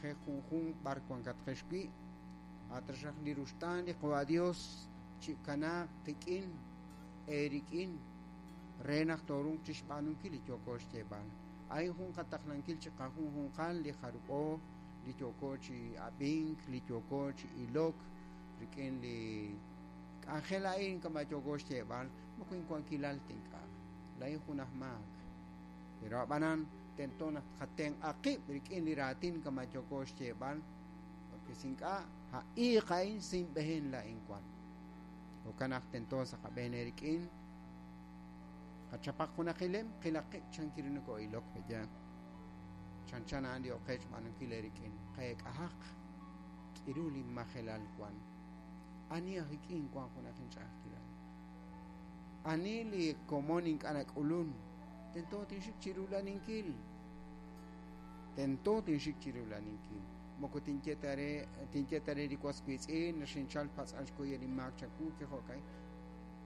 na'ajej junjunq b'ar wankatqex wi'. A' taxaq li ruxtaan li Qawa' Dios chikanaaq qik'in, eerik'in, re naq tooruuq chixb'aanunkil li yooko xyeeb'al. A'in jun qataqlankil chiqajunjunqal li jarub'o li yooko chi ab'ink, li yooko chi ilok rik'in li k'anjel a'in kama' yooko xyeeb'al, moko inwankilal ta ink'a'. Laa'in jun aj maak. Pero a'b'anan tento naq tqatenq'a qib' rik'in li raatin kama' yooko xyeeb'al, porque si ink'a', a iiq a'in sinb'ehen laa'in wan. Jo'kan naq tento sa' qab'een eerik'in qachapaq junaq ilem, qilaq qib' chan kiru noko'ilok, pe'yaal? Chanchan a'an li oqech xb'aanunkil eerik'in. Qeek'ahaq k'iru li majelal wan. Ani aj ik'in wan junaq inch'a'ajkilal? Ani li komon ink'a' nak'ulun? Tento tinxik chi rula'aninkil. Tento tinxik chi rula'aninkil. Moko tinye ta re, tinye ta re li was wiitz'in, xinchal patz'al xkuy inmaak chawu, chi jo'ka'in.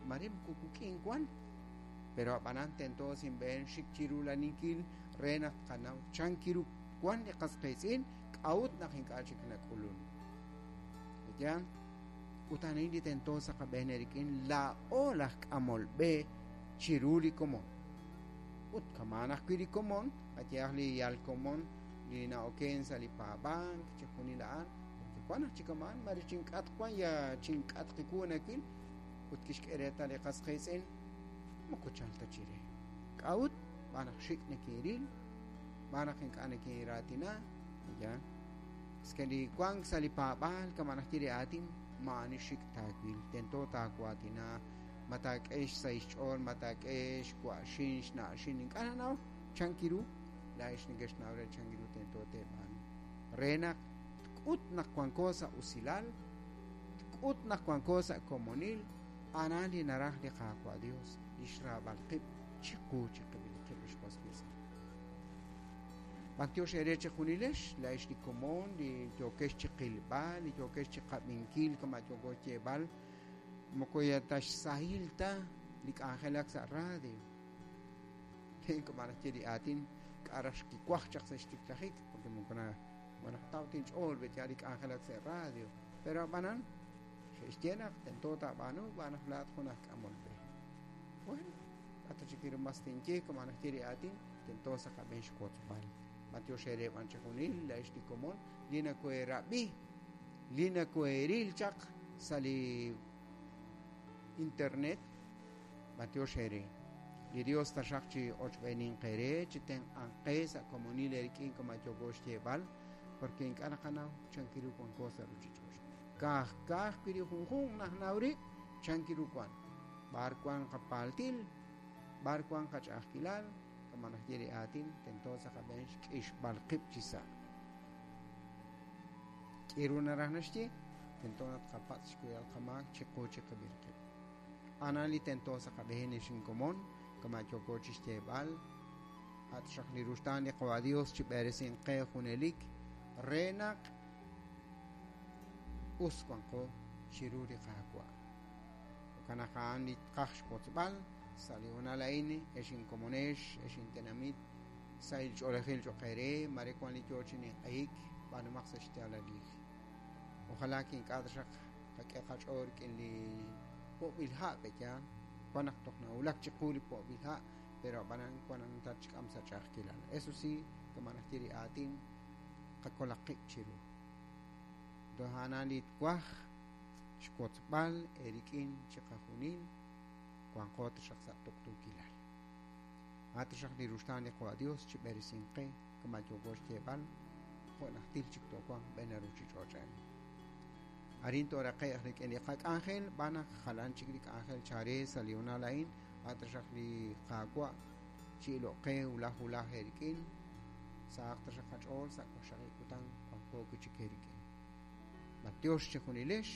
Mare moko wik'in wan, pero a'b'anan tento sinb'een xik chi rula'aninkil re naq tqanaw chan kiru wan li qas qiitz'in, k'a'ut naq ink'a' chik nak'ulun. Yaal? Ut a'in li tento sa' qab'een eerik'in, laa'o laj k'amol b'e chiru li komon. Ut kama'an ajwi' li komon, qayehaq li yal komon li na'oken sa' li paab'ank, chixjunil a'an, porque wan aj chi kama'an, mare chink'atq wan ya chink'atq wu nawil, ut kixk'e reetal li qas qiitz'in, moko chal ta chire. K'a'ut? Xb'aan naq xik' nekinril, xb'aan naq ink'a' nekinraatina, yaal. Es que li wank sa' li paab'aal kama' naxye li aatin, maa'ani xik' taawil, tento taawaatina, ma taak'e xsahil xch'ool, ma taak'e xwa'xin, xna'xin, ink'a' nanaw chan kiru, laa'ex nekexnaw re chan kiru tento teeb'aanu. Re naq tk'ut naq wanko sa' usilal, tk'ut naq wanko sa' komonil, a'an li naraj li Qaawa' Dios, li xraab'al qib' chiqu chiqib'il qib' ex was wiitz'in. B'antiox eere chejunilex, laa'ex li komon, li yookex chi qilb'al, li yookex chi qab'inkil kama' yooko xyeeb'al, moko ya ta xsahil ta li k'anjelak sa' radio. Kama' naxye li aatin, k'a' raj xkiwaj chaq sa' xtiklajik, porque moko na naqtaw ta inch'ool b'et li k'anjelak sa' radio. Pero a'b'anan, xe'xye naq tento taab'aanu xb'aan naq laa'at jun aj k'amol b'e. Bueno, k'a' ta chik mas tinye kama' naxye li aatin, tento sa' qab'een xwotzb'al. B'antiox eere b'an chejunil, laa'ex li komon, li nakoheerab'i, li nakoheeril chaq sa' li internet, b'antiox eere. Li Dios taxaq chi ochb'eeninq eere, chi tenq'anq qe sa' komonil eerik'in kama' yooko xyeeb'al, porque ink'a' naqanaw chan kiru wanko sa' ruchich'och'. Ka'aj ka'ajwi' li junjunq najnaw rib' chan kiru wan, b'ar wan qapaaltil, b'ar wan qach'a'ajkilal, kama' naxye li aatin, tento sa' qab'een xk'ixb'al qib' chi sa'. K'iru naraj naxye, tento naq tqapatz' xkuyb'al qamaak chiqu chiqib'il qib'. A'an li tento sa' qab'een ex inkomon, kama' yooko chi xyeeb'al, a' taxaq li ruxtaan li Qawa' Dios chi b'eresinq qe junelik re naq us wanqo chiru li Qaawa'. Jo'kan naq a'an li tqaj xwotzb'al sa' li hoonal a'in, ex inkomonex, ex intenamit, sahil ch'oolejil cho'q eere, mare wan li yo chi ninq'ehik, b'aanumaq sa' xyaalalil. Ojalá que ink'a' taxaq qak'e qach'ool rik'in li po'b'il ha' pe'yaal, wan naq toj nawulak chiqu li po'b'il ha', pero a'b'anan wan naq tatxk'am sa' ch'a'ajkilal. Eso sí, kama' naxye li aatin, qakolaq qib' chiru. Entonces a'an li twaj xwotzb'al eerik'in chiqajunil, wanqo taxaq sa' tuqtuukilal. A' taxaq li ruxtaan li Qawa' Dios chi b'eresinq qe kama' yooko xyeeb'al, jo' najtil chik toowanq b'een ruchich'och' a'in. Arin tooraqe'q rik'in li qak'anjel, b'aan naq jalan chik li k'anjel chare sa' li hoonal a'in, a' taxaq li Qaawa' chi iloq qe wulaj wulaj eerik'in, sahaq taxaq qach'ool sa' waqxaqib' kutan wanqo wi' chik eerik'in. B'antiox chejunilex,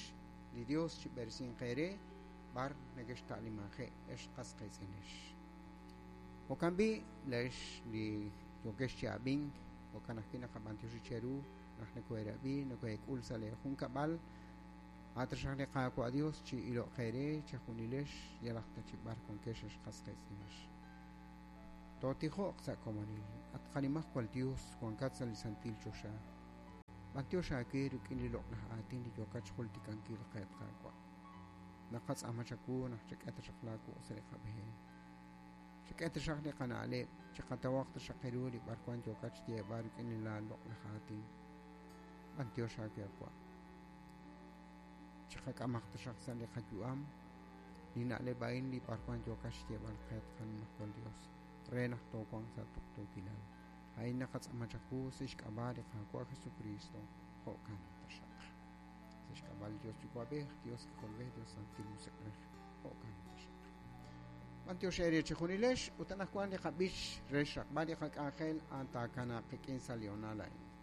li Dios chi b'eresinq eere b'ar nekexta'limanje'k ex qas qiitz'inex. Jo'kan b'i' laa'ex li yookex chi ab'ink, jo'kan ajwi' naqab'antioxi cheru naq nokoheerab'i, nokoheek'ul sa' lee junkab'al. A' taxaq li Qaawa' Dios chi iloq eere chejunilex yalaq ta chi b'ar wankex ex qas qiitz'inex. Tootijoq sa' komonil. At qanimajwal Dios, wankat sa' li santil choxa. B'antiox aawe rik'in li loq'laj aatin li yookat xjultikankil qe, at Qaawa'. Naqatz'aama chawu naq chak'e taxaq laawuq' sa' li qab'een. Chak'e taxaq li qana'leb', chiqatawaq taxaq ru li b'arwan yookat xyeeb'al rik'in li laaloq'laj aatin. B'antiox aawe, at Wa'. Chiqak'amaq taxaq sa' li qayu'am li na'leb' a'in li b'arwan yookat xyeeb'al qe, at qaNimajwal Dios, re naq toowanq sa' tuqtuukilal. A'in naqatz'aama chawu sa' xk'ab'a' li Qaawa' Jesukristo, jo'kan taxaq. Sa' xk'ab'a' li Dios Yuwa'b'ej, Dios K'ajolb'ej, Dios Santil Musiq'ej, jo'kan taxaq. B'antiox eere chejunilex ut anaqwan li qab'ich re xraqb'al li qak'anjel a'an taakanaaq qik'in sa' li honal a'in.